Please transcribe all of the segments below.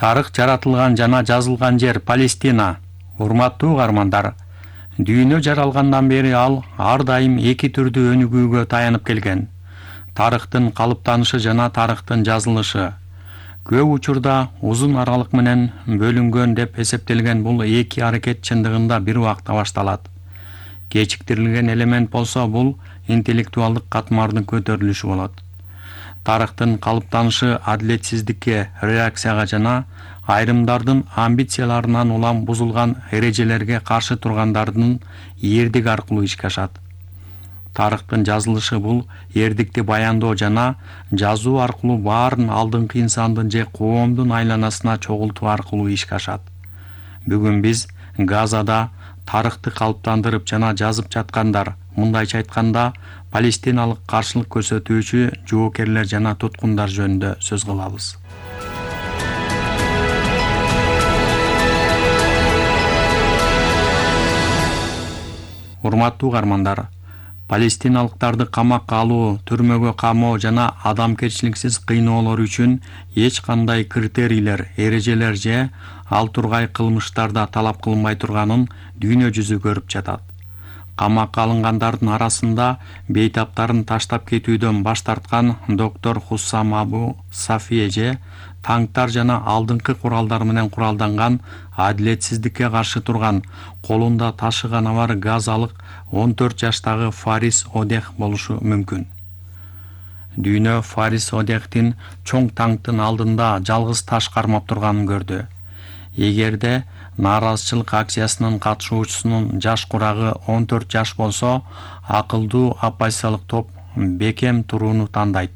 Тарых жаратылган жана жазылган жер Палестина. Урматтуу угармандар, дүйнө жаралгандан бери ал ар дайым эки түрдүү өнүгүүгө таянып келген: тарыхтын калыптанышы жана тарыхтын жазылышы. Көп учурда узун аралык менен бөлүнгөн деп эсептелген бул эки аракет чындыгында бир убакта башталат. Кечиктирилген элемент болсо бул интеллектуалдык катмардын көтөрүлүшү болот. Тарыхтын калыптанышы адилетсиздикке, реакцияга жана айрымдардын амбицияларынан улам бузулган эрежелерге каршы тургандардын эрдиги аркылуу ишке ашат. Тарыхтын жазылышы бул эрдикти баяндоо жана жазуу аркылуу баарын алдыңкы инсандын же коомдун айланасына чогултуу аркылуу ишке ашат. Бүгүн биз Газада тарыхты калыптандырып жана жазып жаткандар, мындайча айтканда, палестиналык каршылык көрсөтүүчү жоокерлер жана туткундар жөнүндө сөз кылабыз. Урматтуу угармандар, палестиналыктарды камакка алуу, түрмөгө камоо жана адамкерчиликсиз кыйноолор үчүн эч кандай критерийлер, эрежелер же ал тургай кылмыштарда талап кылынбай турганын дүйнө жүзү көрүп жатат. Камакка алынгандардын арасында бейтаптарын таштап кетүүдөн баш тарткан доктор Хуссам Абу Сафие же танктар жана алдыңкы куралдар менен куралданган, адилетсиздикке каршы турган, колунда ташыганы бар газалык 14 жаштагы Фарис Одех болушу мүмкүн. Дүйнө Фарис Одехтин чоң танктын алдында жалгыз таш кармап турганын көрдү. Эгерде нааразычылык акциясынын катышуучусунун жаш курагы 14 жаш болсо, акылдуу оппозициялык топ бекем турууну тандайт.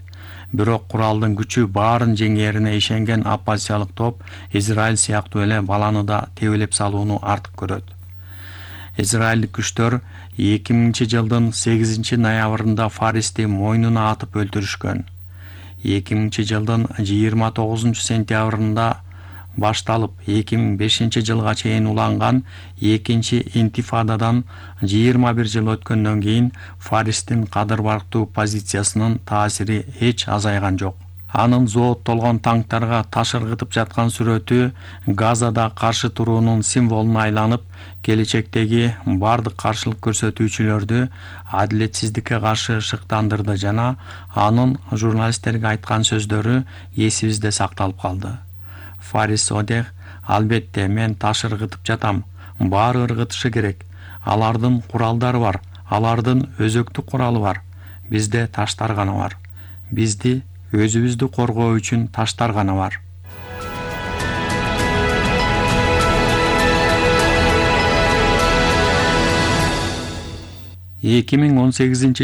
Бирок куралдын күчү баарын жеңээрине ишенген оппозициялык топ Израиль сыяктуу эле баланы да тебелеп салууну артык көрөт. Израилдик күчтөр 2000-жылдын 8-ноябрында Фаристи мойнуна атып өлтүрүшкөн. 2000-жылдын 29-сентябрында башталып 2005-жылга чейин уланган экинчи интифададан 21 жыл өткөндөн кийин Фаристин кадыр-барктуу позициясынын таасири эч азайган жок. Анын зооттолгон танктарга таш ыргытып жаткан сүрөтү Газада каршы туруунун символуна айланып, келечектеги бардык каршылык көрсөтүүчүлөрдү адилетсиздикке каршы шыктандырды жана анын журналисттерге айткан сөздөрү эсибизде сакталып калды. Фарис Одех: албетте, мен таш ыргытып жатам. Баары ыргытышы керек. Алардын куралдары бар, алардын өзөктүк куралы бар. Бизде таштар гана бар. Бизди өзүбүздү коргоо үчүн таштар гана бар.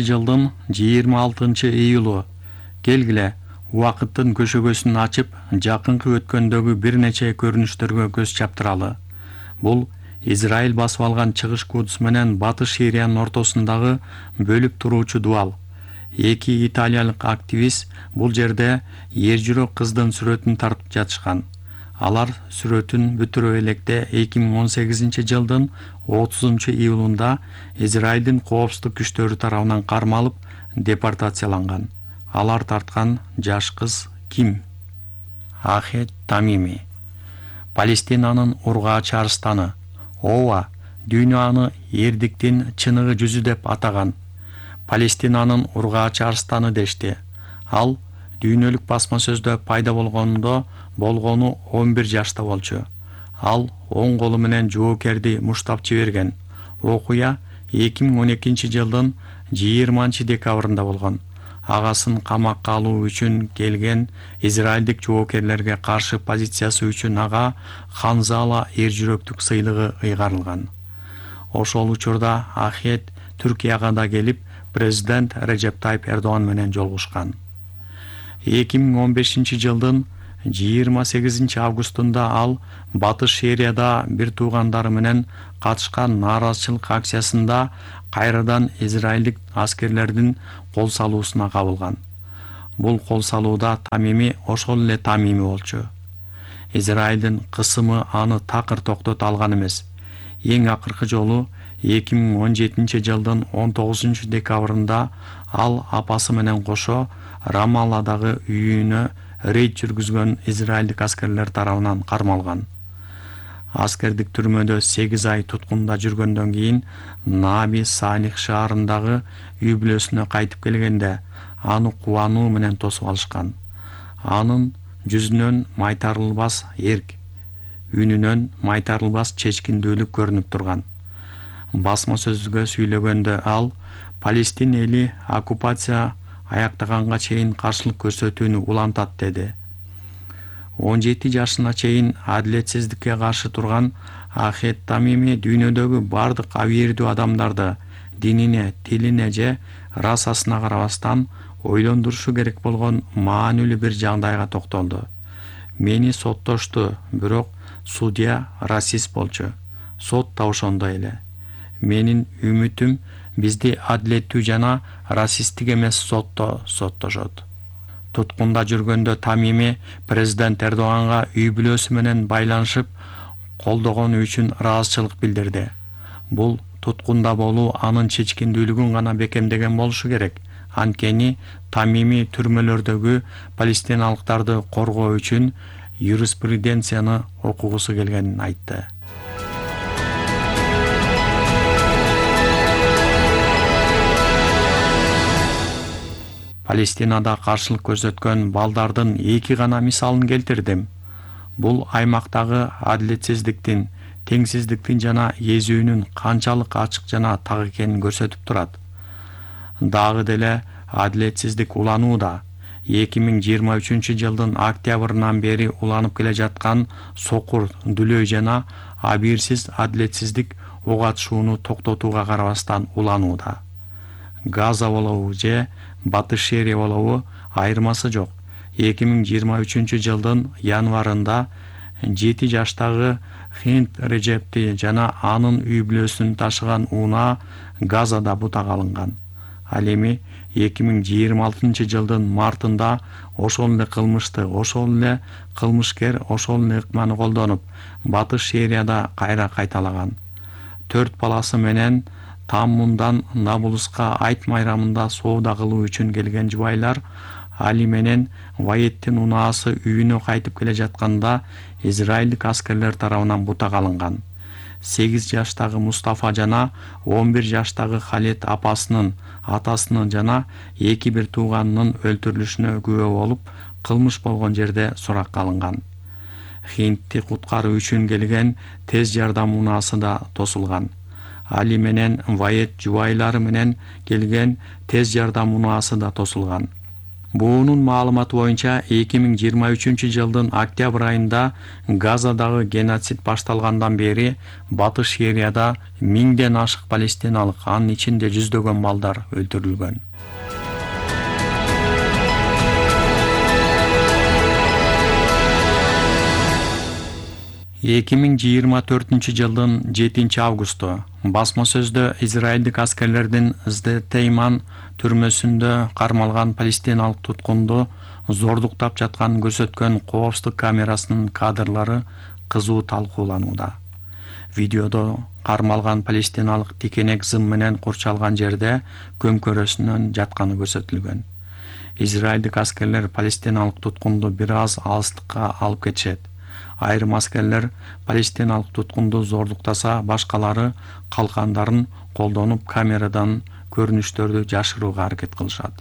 жылдын 26-июлу. Келгиле, убакыттын көшөгөсүн ачып, жакынкы өткөндөгү бир нече көрүнүштөргө көз чаптыралы. Бул Израиль басып алган Чыгыш Кудус менен Батыш Сириянын ортосундагы бөлүп туруучу дубал. Эки италиялык активист бул жерде эр-жүрөк кыздын сүрөтүн тартып жатышкан. Алар сүрөтүн бүтүрө электе 2018-жылдын 30-июлунда Израилдин коопсуздук күчтөрү тарабынан кармалып, депортацияланган. Алар тарткан жаш кыз ким? Ахет Тамими. Палестинанын ургаачы арстаны. Ооба, дүйнө аны эрдиктин чыныгы жүзү деп атаган. Палестинанын ургаачы арстаны дешти. Ал дүйнөлүк басма сөздө пайда болгону 11 жашта болчу. Ал оң колу менен жоокерди муштап жиберген. Окуя 2012-жылдын 20-декабрында болгон. Агасын камакка алуу үчүн келген израилдик жоокерлерге каршы позициясы үчүн ага Ханзала эр-жүрөктүк сыйлыгы ыйгарылган. Ошол учурда Ахет Түркияга да келип, президент Режеп Тайип Эрдоган менен жолугушкан. 2015-жылдын 28-августунда ал Батыш Сирияда бир туугандары менен катышкан нааразычылык акциясында кайрадан израилдик аскерлердин кол салуусуна кабылган. Бул кол салууда Тамими ошол эле Тамими болчу. Израилдин кысымы аны такыр токтото алган эмес. Эң акыркы жолу 2017-жылдын 19-декабрында ал апасы менен кошо Рамалладагы үйүнө рейд жүргүзгөн израилдик аскерлер тарабынан кармалган. Аскердик түрмөдө 8 ай туткунда жүргөндөн кийин Наби Салих шаарындагы үй бүлөсүнө кайтып келгенде аны кубануу менен тосуп алышкан. Анын жүзүнөн майтарылбас эрк, үнүнөн майтарылбас чечкиндүүлүк көрүнүп турган. Басма сөзгө сүйлөгөндө ал Палестин эли оккупация аяктаганга чейин каршылык көрсөтүүнү улантат деди. 17 жашына чейин адилетсиздикке каршы турган Ахет Тамими дүйнөдөгү бардык абийирдүү адамдарды динине, тилине же расасына карабастан ойлондурушу керек болгон маанилүү бир жагдайга токтолду. Мени соттошту, бирок судья расист болчу. Сот да ошондой эле. Менин үмүтүм бизди адилеттүү жана расисттик эмес сотто соттошот. Туткунда жүргөндө Тамими президент Эрдоганга үй бүлөсү менен байланышып колдогону үчүн ыраазычылык билдирди. Бул туткунда болуу анын чечкиндүүлүгүн гана бекемдеген болушу керек. Анткени Тамими түрмөлөрдөгү палестиналыктарды коргоо үчүн юриспруденцияны окугусу келгенин айтты. Палестинада каршылык көрсөткөн балдардын 2 гана мисалын келтирдим. Бул аймактагы адилетсиздиктин, теңсиздиктин жана эзүүнүн канчалык ачык жана так экенин көрсөтүп турат. Дагы деле адилетсиздик уланууда. 2023-жылдын октябрынан бери уланып келе жаткан сокур, дүлөй жана абийирсиз адилетсиздик ок атышууну токтотууга карабастан уланууда. Газа болобу же Батыш Шерия болобу айырмасы жок. 2023-жылдын январында 7 жаштагы Хинт Режепти жана анын үй бүлөсүн ташыган унаа Газада бутак алынган. Ал эми 2026-жылдын мартында ошол эле кылмышты, ошол эле кылмышкер ошол эле ыкманы колдонуп, Батыш Шерияда кайра кайталаган. 4 баласы менен Таммундан Набулуска айт майрамында соода кылуу үчүн келген жубайлар Али менен Ваеттин унаасы үйүнө кайтып келе жатканда израилдик аскерлер тарабынан бутак алынган. 8 жаштагы Мустафа жана 11 жаштагы Халет апасынын, атасынын жана 2 тууганынын өлтүрүлүшүнө күбө болуп, кылмыш болгон жерде суракка алынган. Хинтти куткаруу үчүн келген тез жардам унаасы да тосулган. Али менен Вает жубайлары менен келген тез жардам унаасы да тосулган. Буунун маалыматы боюнча 2023-жылдын октябрь айында Газадагы геноцид башталгандан бери Батыш Шерияда 1000ден ашык палестиналык, анын ичинде жүздөгөн балдар өлтүрүлгөн. жылдын 7 августу басма сөздө израилдик аскерлердин Здетейман түрмөсүндө кармалган палестиналык туткунду зордуктап жатканын көрсөткөн коопсуздук камерасынын кадрлары кызуу талкууланууда. Видеодо кармалган палестиналык тикенек зым менен курчалган жерде көмкөрөсүнөн жатканы көрсөтүлгөн. Израилдик аскерлер палестиналык туткунду бир аз алыстыкка алып кетишет. Айрым аскерлер палестиналык туткунду зордуктаса, башкалары калкандарын колдонуп камерадан көрүнүштөрдү жашырууга аракет кылышат.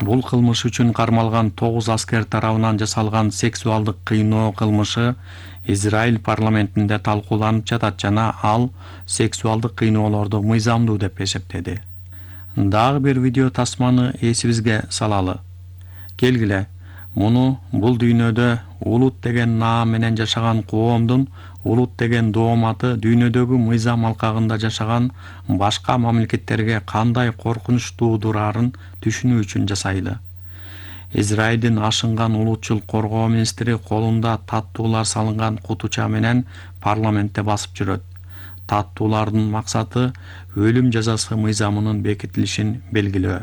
Бул кылмыш үчүн кармалган 9 аскер тарабынан жасалган сексуалдык кыйноо кылмышы Израиль парламентинде талкууланып жатат жана ал сексуалдык кыйноолорду мыйзамдуу деп эсептеди. Дагы бир видео тасманы эсибизге салалы. Келгиле, муну бул дүйнөдө улут деген наам менен жашаган коомдун улут деген дооматы дүйнөдөгү мыйзам алкагында жашаган башка мамлекеттерге кандай коркунуч туудурарын түшүнүү үчүн жасайлы. Израилдин ашынган улутчул коргоо министри колунда таттуулар салынган кутуча менен парламентте басып жүрөт. Таттуулардын максаты өлүм жазасы мыйзамынын бекитилишин белгилөө.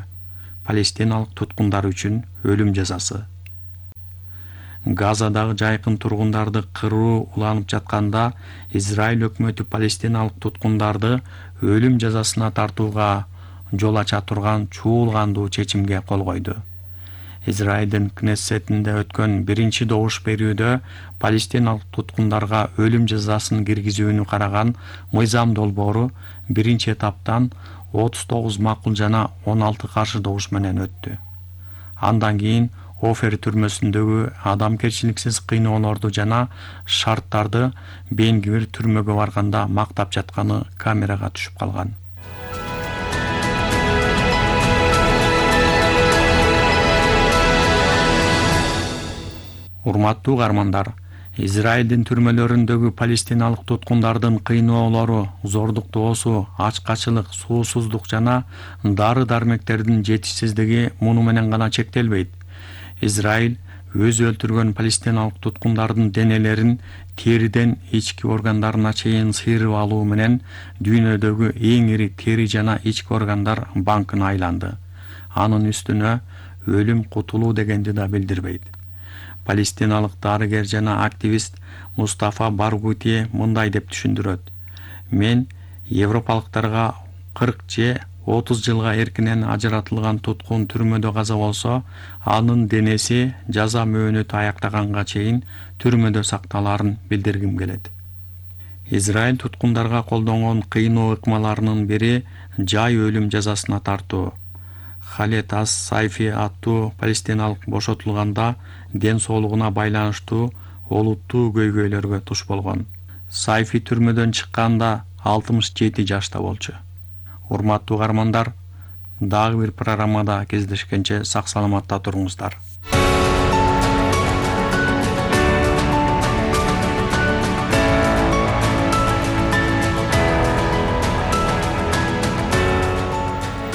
Палестиналык туткундар үчүн өлүм жазасы. Газадагы жайкын тургундарды кыруу уланып жатканда Израиль өкмөтү палестиналык туткундарды өлүм жазасына тартууга жол ача турган чуулгандуу чечимге кол койду. Израилдин Кнессетинде өткөн биринчи добуш берүүдө палестиналык туткундарга өлүм жазасын киргизүүнү караган мыйзам долбоору биринчи этаптан 39 макул жана 16 каршы добуш менен өттү. Андан кийин Офер түрмөсүндөгү адамгерчиликсиз кыйноолорду жана шарттарды Бен-Гвир түрмөгө барганда мактап жатканы камерага түшүп калган. Урматтуу каармандар, Израилдин түрмөлөрүндөгү палестиналык туткундардын кыйноолору, зордуктоосу, ачкачылык, суусуздук жана дары-дармектердин жетишсиздиги муну менен гана чектелбейт. Израиль өзү өлтүргөн палестиналык туткундардын денелерин териден ички органдарына чейин сыйрып алуу менен дүйнөдөгү эң ири тери жана ички органдар банкын айланды. Анын үстүнө өлүм кутулуу дегенди да билдирбейт. Палестиналык дарыгер жана активист Мустафа Баргути мындай деп түшүндүрөт. Мен европалыктарга 40 же 30 жылга эркинен ажыратылган туткун түрмөдө каза болсо, анын денеси жаза мөөнөтү аяктаганга чейин түрмөдө сакталаарын билдиргим келет. Израиль туткундарга колдонгон кыйноо ыкмаларынын бири жай өлүм жазасына тартуу. Халет ас-Сайфи аттуу палестиналык бошотулганда ден соолугуна байланыштуу олуттуу көйгөйлөргө туш болгон. Сайфи түрмөдөн чыкканда 67 жашта болчу. Урматтуу каармандар, дагы бир программада кездешкенче сак-саламатта туруңуздар.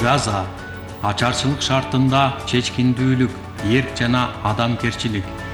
Газа ачарчылык шартында чечкиндүүлүк, эрк жана адамгерчилик